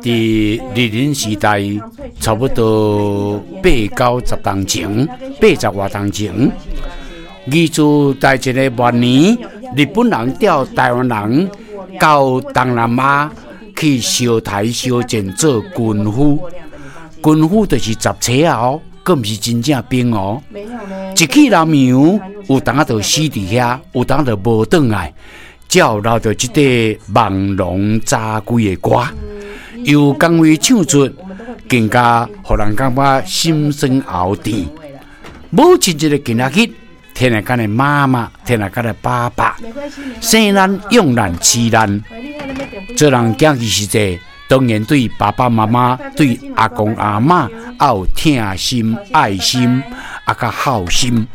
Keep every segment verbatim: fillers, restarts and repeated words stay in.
佇日治時代，差不多八九十冬前，八十外冬前，二次大戰的末年，日本人調台灣人到東南亞去相刣相戰做軍夫，軍夫就是雜差仔哦，閣毋是真正兵哦。一去南洋，有當仔就死佇遐，有當就無轉來，才有留著這塊望龍早歸的歌，由江蕙唱出，更加予人感覺心酸喉甜。母親節的今仔日，天下間的媽媽，天下間的爸爸，生咱養咱飼咱，做人囝兒時陣，當然對爸爸媽媽、對阿公阿嬤，愛有疼心、愛心，啊，佮孝心。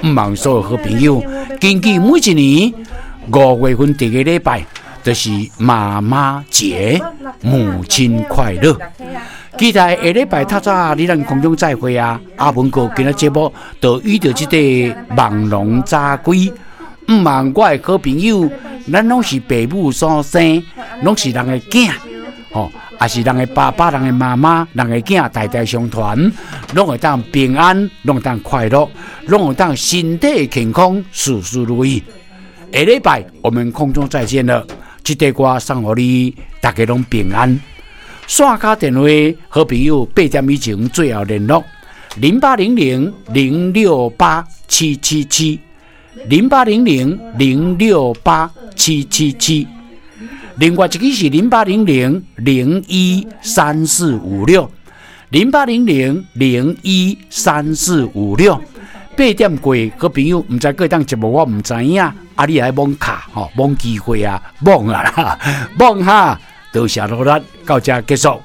毋望所有好朋友，根據每一年五月份第一個禮拜，就是媽媽節，母親快樂。期待下禮拜透早你咱空中再會啊！阿文哥今仔節目就遇著這個望龍早歸，毋望我的好朋友，咱攏是爸母所生，攏是人的囝，吼，也是人的爸爸、人的媽媽、人的囝，代代相傳，攏會當平安，攏會當快樂，攏會當身體健康，事事如意。下禮拜我們空中再見了，這塊歌送予你，大家攏平安。線跤電話，好朋友八點以前最後聯絡零八零零零六八七七七零八零零零六八七七七，另外一支是零八零零零一三四五六零八零零零一三四五六。八點過，好朋友毋知閣會當節目，我毋知影，啊，你愛罔卡吼，罔機會啊，罔啊啦，罔哈，多謝努力，到這結束。